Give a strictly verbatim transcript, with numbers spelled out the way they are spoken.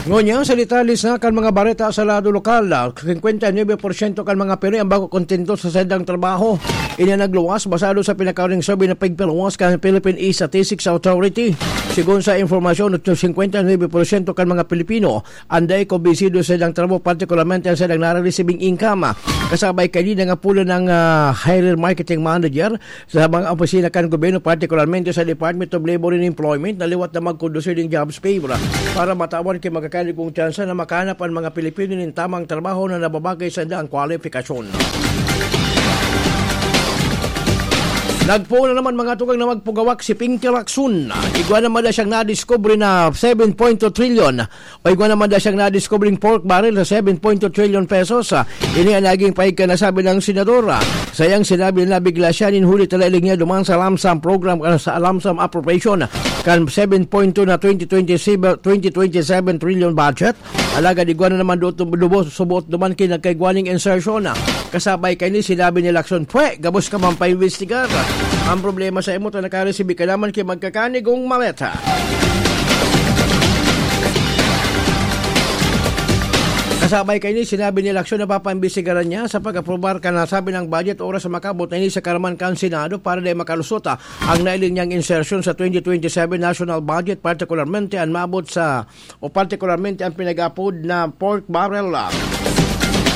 Ngunyan, sa detalye sa kan mga bareta sa lado lokal, singkwenta y nuebe porsyento kan mga Pinoy ang bako kontento sa saindang trabaho. Ini ang nagluwas basado sa pinakahuling survey na pigpiluwas kan Philippine Statistics Authority. Sigon sa impormasyon, singkwenta y nuebe porsyento kan mga Pilipino ang dai kumbinsido sa saindang trabaho, partikularmente ang saindang nare-receiving income. Kasabay kaini, nangapulan ang, ah, hirer marketing manager sa mga opisina kan gobyerno, partikularmente sa Department of Labor and Employment, na liwat na magkondusir nin jobs fair para matawan ki magkakanigong tsansa na makahanap an mga Pilipino nin tamang trabaho na nababagay sa saindang kwalifikasyon. Nagpoon na naman mga tugang na magpugawak si Pinky Lacson. Igwa naman na siyang nadiskubre na seven point two trilyon o igwa naman na siyang nadiskubring pork barrel sa seven point two trillion pesos. Ah, ini ang naging pahigka na sabi ng senador. Ah, sayang sinabi na bigla siya nin huli talaga niya duman sa lump sum program, ah, sa lump sum appropriation kan seven point two na twenty twenty-seven, twenty twenty-seven trillion budget. Alagad igwa na naman doon lubos, subot duman ki nagkaigwa ning insertion. Kasabay kaini, sinabi ni Lacson, "Pwe, gabos ka man paimbestigar. Ang problema sa imo, ta nakaresibi ka naman ki magkakanigong maleta." Kasabay kaini, sinabi ni Lacson na papaimbestigaran niya sa pag-aprobar kan nasabi ng budget oras sa makabot na ini sa karaman kan Senado para di makalusot, ah, ang nailing niyang insertion sa twenty twenty-seven national budget, partikularmente ang maabot sa o partikularmente ang pinag-apod na pork barrel, ah,